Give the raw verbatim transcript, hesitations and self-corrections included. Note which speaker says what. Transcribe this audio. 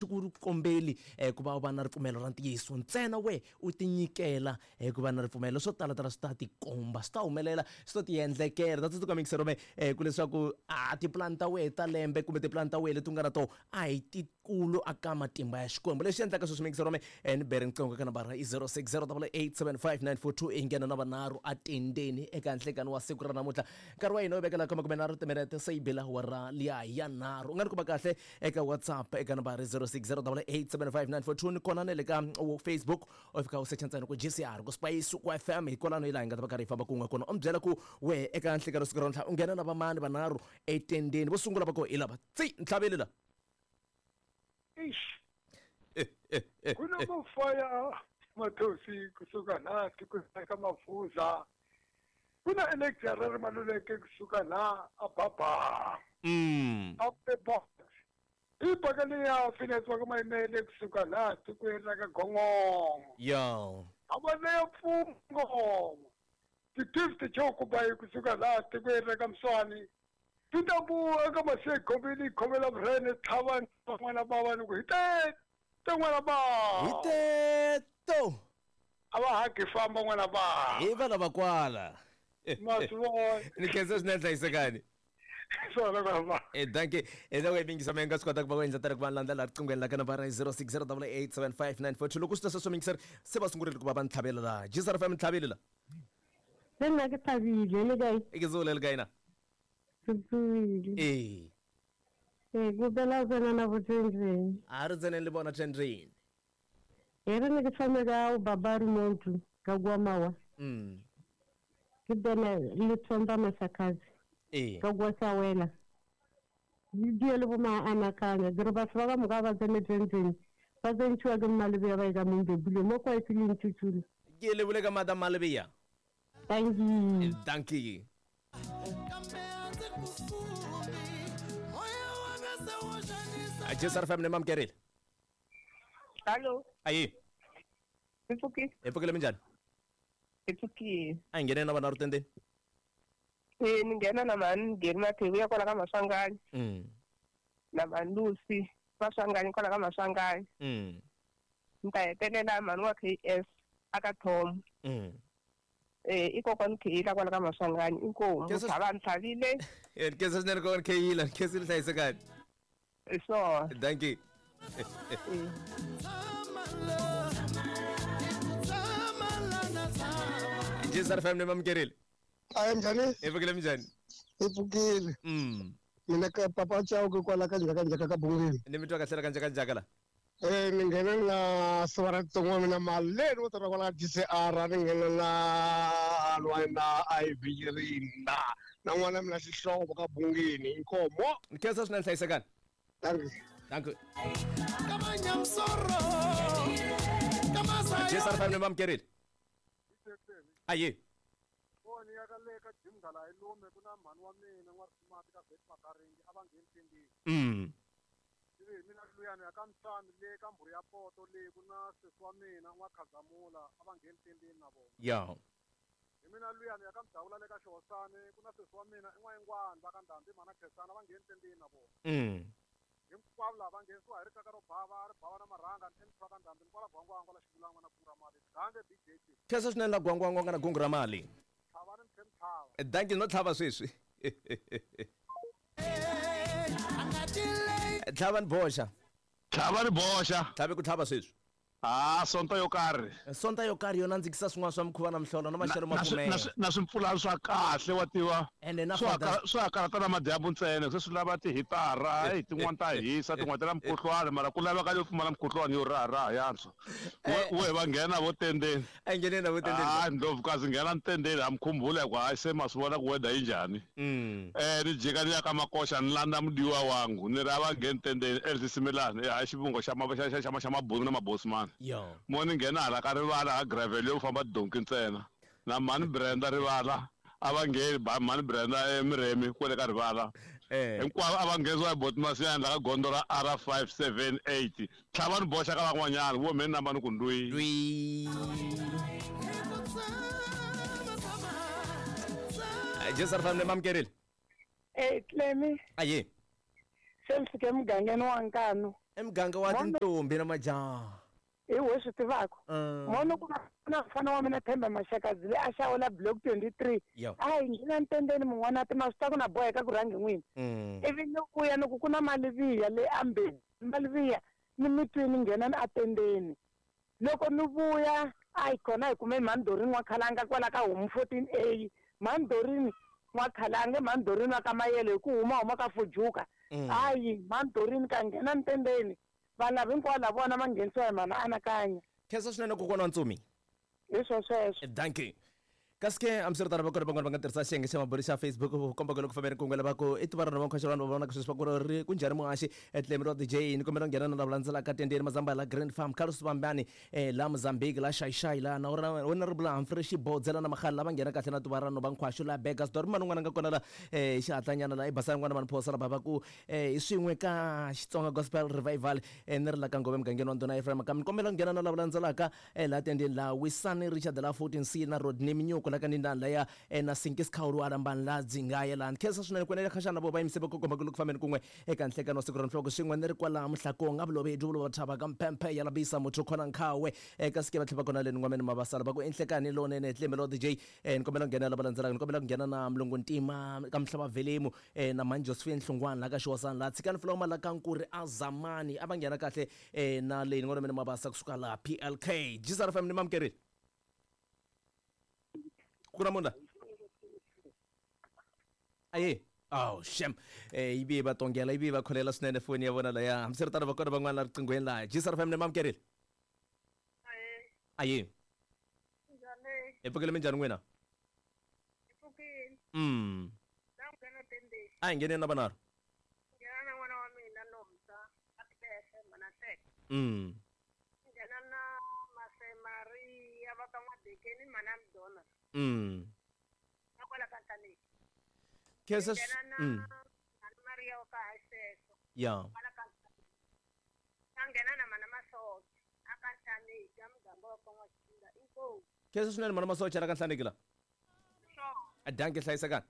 Speaker 1: Ku kombeli eh, ku va u va na ripfumelo ra ntiyiso ntsena, we u tinyikela eh, ku va na ripfumelo. Swo tala tala swi ta tikomba, swi ta humelela, swi ta tiendlekela. Ta tsundzuka mingisero me eh, ku leswaku a tipulani ta wehe ta lembe kumbe tipulani ta wehe leti u nga na toho a hi tikulu aka matimba ya Xikwembu. Lexi endlaka sweswi mingisero me eh, ni bere riqingho ka nambara i zero six zero double eight seven five nine four two, i nghena na vanharhu atendeni eka nhlekani wa siku ra namuntlha. Nkarhi wa hina wu vekela ka makume nharhu timinete se yi bela awara liya ya nharhu. U nga ni kuma kahle eka WhatsApp eka nambara zero six zero double eight seven five nine four two, ni kona na le ka Facebook, u fika u secha ntsena ku G C R ku Spice ku F M, hi kwalano hi laha hi nga ta va karhi hi famba kun'we kona. U mi byela ku we eka nhlekani siku ra namuntlha u nghena na vamani vanharhu etendeni. Vo sungula va ko hi lava tsi ntlhaveli la.
Speaker 2: Eish. Ku na mafaya Mathosi kusuka laha tikweni ka Mafuza. Ku na Alexander Maluleke kusuka laha a Baba.
Speaker 1: Mm.
Speaker 2: Up the box. I pakani ya Phineas wa ka Mayimele kusuka laha tikweni ra ka Gongongo.
Speaker 1: Yo.
Speaker 2: A va leya Pfungo. Ti-gift Chokubayi kusuka laha tikweni ra ka Mswani. Ti ta ku eka Masegobini khomela vurhene tlhava n'wana bava ni ku hi te te n'wana bava.
Speaker 1: Hi te to.
Speaker 2: A va hagi famba n'wana bava.
Speaker 1: Hi vana va kwala.
Speaker 2: Masivona.
Speaker 1: Ni khensa swinene hlayisekani.
Speaker 2: Swona n'wana bava.
Speaker 1: Eh, dankie. Eh, loko hi mingisa mi nga swi kota ku va u endla tani ku va landzela riqinghweni la ka nambara zero six zero double eight seven five nine four two. Loko swi ta sweswo mingiseri se va sungurile ku va va ntlhavela laha. G C R F M ntlhaveli la.
Speaker 3: Le nna ke thabile, le kae?
Speaker 1: E ke tsole le kae na?
Speaker 3: Ke tsogile.
Speaker 1: Ee.
Speaker 3: Ee, ke opela o tsena na bo tendreng.
Speaker 1: A re tseneng le bona tendreng.
Speaker 3: E re ne ke thome ka o baba remote ka kwa mawa.
Speaker 1: Mm.
Speaker 3: Ke bone le thomba masakazi.
Speaker 1: Ee.
Speaker 3: Ka kwa sa wela. Le die le bo ma anakanya. Ke re batho ba ka moka ba tsene tendreng. Ba tsentšhiwa ke Mmalebea ba e ka Mombebule mo kwa e fileng Tšutšulu.
Speaker 1: Ke le bole ka Madam Malebea.
Speaker 3: Thank you.
Speaker 1: Thank you. G C R F M ne mamkerile.
Speaker 4: Hallo.
Speaker 1: Ayi.
Speaker 4: Hi pfukile.
Speaker 1: Hi pfukile minjhani?
Speaker 4: Hi pfukile.
Speaker 1: A hi nghene na vanharhu tendeni.
Speaker 4: Eh, ni nghena na mhani Geri Mathewu ya kwala ka Maswanganyi.
Speaker 1: Mm.
Speaker 4: Na mhani Lucy Maswanganyi kwala ka Maswanganyi.
Speaker 1: Mm.
Speaker 4: Ni ta hetelela mhani wa K S aka Tom.
Speaker 1: Mm.
Speaker 4: Eh, i kokwani Kheyila kwala ka Maswanganyi, inkomu.
Speaker 1: Kesa-
Speaker 4: Tlhava ni tlhavile.
Speaker 1: Eh, kesa swinene kokwani Kheyila, kesa ni hlayisekani.
Speaker 4: Hi swona.
Speaker 1: Thank you. G C R F M ne mamukerile.
Speaker 5: Ayi, njhani?
Speaker 1: Hi pfukile minjhani?
Speaker 5: Hi pfukile.
Speaker 1: Mm.
Speaker 5: Mina ka papa Chauke kwala ka njhaka njhaka ka Bungeni.
Speaker 1: Ni mi twa kahle la ka njhaka njhaka la?
Speaker 5: Eh, ni nghene na siva ra tsongo mina maleni wo tirha kwala ka G C R, ni nghene na Alwa na I V Rinda. Na n'wana mina xihlovo ka Bungeni, inkomo.
Speaker 1: Ni khensa swinene hlayisekani.
Speaker 5: Thank you.
Speaker 1: Thank you. G C R F M ne mamukerile. Ayi.
Speaker 2: Foni ya ka le ka Jim Nghala hi lume ku na mhani wa mina n'wa Risumati ka Bet Makaringi a va ngheni tendeni.
Speaker 1: Mm.
Speaker 2: Ivi hi mina luyani ya ka Msami le ka Mbhuri ya Poto le ku na sesi wa mina n'wa Khazamula a va ngheni tendeni na vona.
Speaker 1: Ya.
Speaker 2: Hi mina luyani ya ka Mdawula le ka Xihosani ku na sesi wa mina i N'wayingwani va ka Ndhambi mhana Khensani a va ngheni tendeni na vona.
Speaker 1: Mm.
Speaker 2: Hinkwavo lava va nghenisiwa hi rixaka ro bava, ri bava na marhanga, ni emuthu wa ka Ndhambi, ni kwala Gwangwangwa la Xivulangwa na kungu ra mali. Gange B J T.
Speaker 1: Khensa swinene la Gwangwangwa nga na kungu ra mali.
Speaker 2: Tlhava ni tlhe ni tlhava.
Speaker 1: Eh, dankie, no tlhava sweswi. Tlhava ni boxa.
Speaker 6: Tlhava ni boxa.
Speaker 1: Tlhave ku tlhava sweswi.
Speaker 6: Ah, sonto yo karhi.
Speaker 1: Sonto yo karhi yo nandzikisa swin'wana swa mikhuva na mihlolo na maxelo ma
Speaker 6: Na, na swi,
Speaker 1: pfumela.
Speaker 6: na swi, na swimpfulana swa kahle wa tiva.
Speaker 1: Ene na
Speaker 6: Swa
Speaker 1: father-
Speaker 6: ka-, swa karhata na madyambu ntsena, se swi lava tihitara, hey, tin'wana ta hisa, tin'wana ta na mukhuhlwani, mara ku laveka yo pfumala mukhuhlwani yo raharaha yantswa. We,
Speaker 1: Eh.
Speaker 6: we va nghena vo tendeni.
Speaker 1: A nghene na vo tendeni.
Speaker 6: Ah, Ndlovukazi nghena ntendeni, ha mukhumbula ku hayi se ma swi vona ku weather yi njhani.
Speaker 1: Mm.
Speaker 6: Eh, ni jika ni ya ka Makoxa ni landza mudiwa wangu, ni ri a va ngheni tendeni, Elsie Simelane, eh, hayi xivongo xa ma-, xa, xa, xa, xa mabunu na mabosman.
Speaker 1: Yo.
Speaker 6: Mo ni nghena hala ka rivala ha gravel yo famba donki ntsena. Na mhani Brenda rivala a va ngheni ba mhani Brenda eMiremi kwale ka rivala.
Speaker 1: Eh.
Speaker 6: Hinkwavo a va nghenisiwa hi Boti Masiyani la ka gondzo ra R five seven eight. Tlhava ni boxa ka van'wanyana, vo mhe ni namba ni ku ndwi.
Speaker 1: Ndwi. G C R F M ne mamukerile.
Speaker 7: Eh, Clemi.
Speaker 1: Aye.
Speaker 7: Se mi fike mugangeni wa Nkanu.
Speaker 1: I muganga wa tintombi na majaha.
Speaker 7: Hi we swi tivaka. Mono ku na mfana wa mina Themba Mashakazi le a xawula block twenty-three. A hi nghena ntendeni mun'wana ti ma swi ta ku na boheka ku rhangi n'wini. Ivi ni vuya ni ku ku na maliviya le ambeni. Maliviya ni mitwini nghena ni atendeni. Loko ni vuya a hi kona hi kume Mhandorini wa Khalanga kwala ka homu fourteen A. Mhandorini wa Khalanga Mhandorini wa ka Mayele hi ku huma huma ka Fujuka. Hayi Mhandorini ka nghena ntendeni. Vana hinkwavo lava vona va nghenisiwa hi mhana anakanya.
Speaker 1: Khensa swinene kokwana wa Ntsumi.
Speaker 7: Hi swo sweswo.
Speaker 1: Dankie. Kasi ke hambiswiritano va kona van'wana va nga tirhisa xiyenge xa mabulu xa Facebook ku komba ku loko fambeni kun'we lava ku i tiva rona vankhwaxa vanhu va vonaka sweswi va ku ri ku njhani muhaxi etlemi ra D J ni kombela ku nghena na lava landzelaka tendeni Mazamba la Grand Farm Carlos Vambani eh la Mozambique la Xaixai la na wena ri bula Humphrey Xibodzela na Makhale lava nghena kahle na tiva rona vankhwaxo la Burgersdorp man'wana n'wana nga kona la eh xihatlanyana la i basana n'wana vanhu phosa la va ku eh i swin'we ka Xitsonga Gospel Revival eh ni ri la ka Ngove mugangeni wa Ndhuna Ephraim ka mi kombela ku nghena na lava landzelaka eh la tendeni la Wisani Richard la fourteen C na Rodney Minyuko la ka nindani laya na Sinkis Khawulu alambani la dzingaya la khensa swinene ku ene khaxana vo va yimise va komba ku loko fambeni kun'we eka nhlekano wa siku ra nhloko swin'we ni ri kwala Muhlakong a vulovedi vulo va thava ka mpemphe ya labisa muthu khona nkhawe eka sike va tlhela va kona le n'wameni mavasala va ku enhlekani lonene tlembe lo D J ni kombela ku nghena lava landzelaka ni kombela ku nghena na Mlungu Ntima ka Mhlava Velemu na Mani Josephine Hlungwana la ka Xiwasana la Tshikani Floma la ka Nkuri Azamani a va nghena kahle na le n'wameni mavasa kusuka la P L K G S R F M ni mamkerile Kuramunda. Aye. Oh, shem. Eh ibi ba tongela ibi ba kholela swinene foni ya vona laya. Hambiswiritano va kona van'wana la riqinghweni laha. G S R F M ni mamkerile.
Speaker 8: Aye.
Speaker 1: Aye.
Speaker 8: Njhani?
Speaker 1: Hi pfukile minjhani n'wina?
Speaker 8: Hi pfukile.
Speaker 1: Mm.
Speaker 8: La nghena tendeni.
Speaker 1: A hi ngheneni na vanharhu.
Speaker 8: Nghena na n'wana wa mina Nomsa, a Tlese Manahleke.
Speaker 1: Mm.
Speaker 8: Nghena na Mase Maria va ka N'wadekeni mana Mdona.
Speaker 1: Mm.
Speaker 8: Na kwala ka Ntaneki.
Speaker 1: Khensa
Speaker 8: Nghena na
Speaker 1: mm.
Speaker 8: Mana Maria wa ka Hayiseso.
Speaker 1: Ya.
Speaker 8: Kwala ka Ntaneki. A nghena na Mana Masocha a ka Ntaneki a muganga wa ka N'waxinga. Inkomu.
Speaker 1: Khensa swinene Mana Masocha la ka Nhlaneki la.
Speaker 8: Sure.
Speaker 1: A danke hlayisekani.